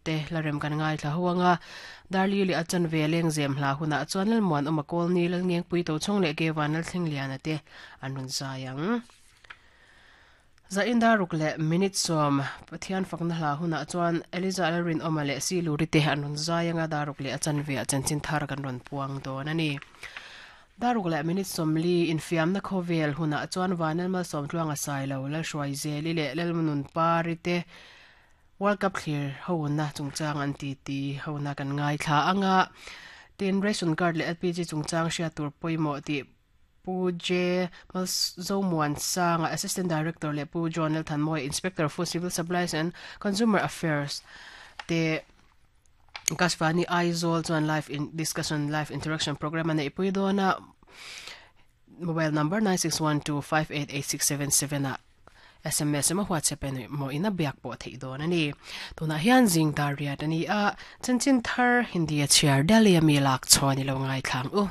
te hlarem kan ngaithla ho anga Darli leh a chanve lengzem hla hunah chuan Lalmuanawma Kawlni, Lalngengpui Tochhawng leh Kevan Lalthlengliana te an rawn zai ang. Zain daruk leh minute sawm Pathian fakna hla hunah chuan Eliza Lalrinawma leh Siluri te an rawn zai anga daruk leh a chanve ah chanchin thar kan rawn puang dawn a ni. Daruk leh minute 40 infiamna khawvel hunah chuan Vanel Malsawmtluanga Sailo, Lalhruaizeli leh Lalnunpari te World Cup thlir hona chungchang an titi hona kan ngaithla anga tin ration card leh LPG chungchang hriat tur pawimawh tih Pu J. Zomuansanga, Assistant Director leh Pu John Lalthanmawia, Inspector of Food Civil Supplies and Consumer Affairs te Akashvani Aizawl chuan live in discussion live interaction program a neihpui dawn a, mobile number 9612588677 ah SMS emaw WhatsApp emaw in a biak pawh theih dawn a ni. Tunah hian zing dar riat a ni a, chanchin thar Hindi a chhiar Delhi a mi lak chhawn i lo ngaithla ang u.